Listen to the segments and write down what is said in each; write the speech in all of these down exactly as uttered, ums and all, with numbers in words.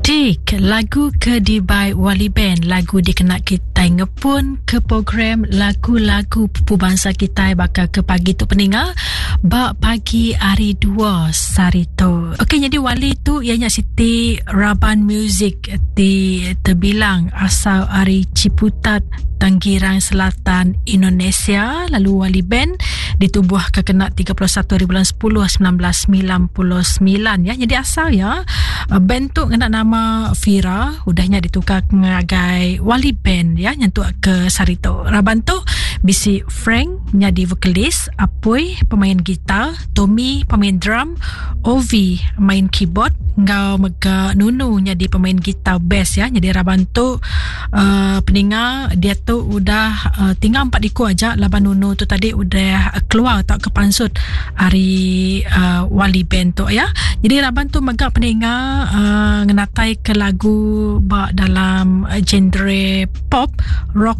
Dik, lagu ke dibai Wali Band, lagu dikena kita ngepun ke program lagu-lagu pupu bangsa kita bakal ke pagi tu peninga ba pagi hari dua sari tu. Okey, jadi Wali tu ianya Siti Raban Music di terbilang asal ari Ciputat, Tangerang Selatan, Indonesia. Lalu Wali Band ditubuh ke kena tiga puluh satu hari bulan sepuluh sembilan belas sembilan puluh sembilan ya. Jadi asal ya band tu kena nama Fira, udahnya ditukar ngagai Wali Band ya, nyentuk ke Sarito. Raban tu bisi Frank nyadi vokalis, Apoy pemain gitar, Tommy pemain drum, Ovi main keyboard, ngau mega Nunu nyadi pemain gitar bass ya. Jadi raban tu uh, peninga dia tu udah uh, tinggal empat iku aja laban Nunu tu tadi udah keluar tak ke pansut hari uh, Wali Band tu ya. Jadi raban tu mega peninga uh, ngenatai ke lagu ba dalam uh, genre pop, rock,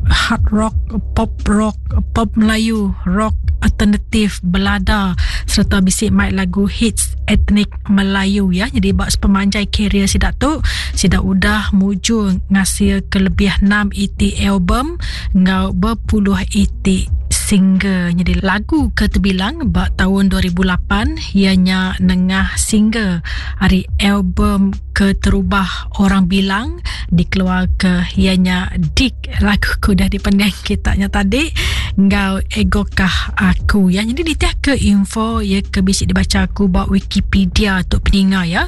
hard rock, pop rock, pop Melayu, rock alternatif, belada serta bisik mic lagu hits etnik Melayu ya. Jadi bak sepemanjai karier sidak tu sidak udah mujur ngasil ke lebih enam E T album ngau berpuluh E T single. Jadi lagu ke terbilang bak tahun dua ribu lapan ianya nengah single hari album keterubah orang bilang dikeluar ke ianya Dik, lagu ku dah dipendang kitanya tadi ngau egokah aku ya. Jadi ditiah ke info ya ke bisik dibaca aku bak Wikipedia untuk peninga ya.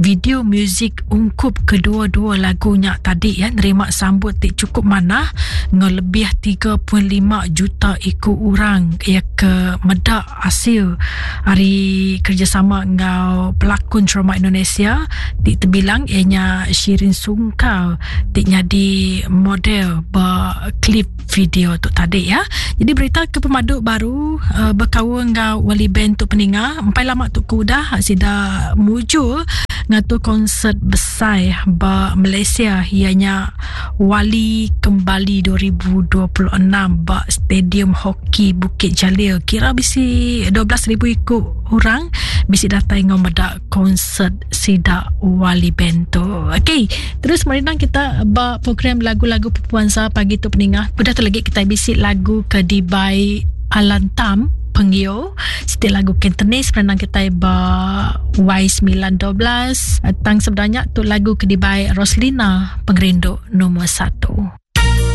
Video muzik ungkup kedua-dua lagunya tadi ya nerima sambut tik cukup manah ngau lebih tiga perpuluhan lima juta iku orang ya ke medak hasil hari kerjasama ngau pelakon drama Indonesia tik terbilang ianya Shirin Sungkar tik nyadi model ba klip video tu tadi ya. Jadi berita ke pemaduk baru uh, berkawan ngau Wali Band tu peninga empai lama tu ku dah sida mujur ngatur konsert besar ba Malaysia ianya Wali Kembali dua ribu dua puluh enam ba Stadium Hoki Bukit Jalil. Kira bisi dua belas ribu ikut orang bisi datang ngau medak konsert sida Wali Band tu. Okey, terus mari kita ba program lagu-lagu Pupuansa pagi tu peningah. Udah tu lagi kita bisi lagu ke dibai Alan Tam Penggio, setiap lagu Cantonese pernah kita ba Y sembilan dua belas. Tang sebenarnya tu lagu ke dibai Roslina Pengerindu nombor satu.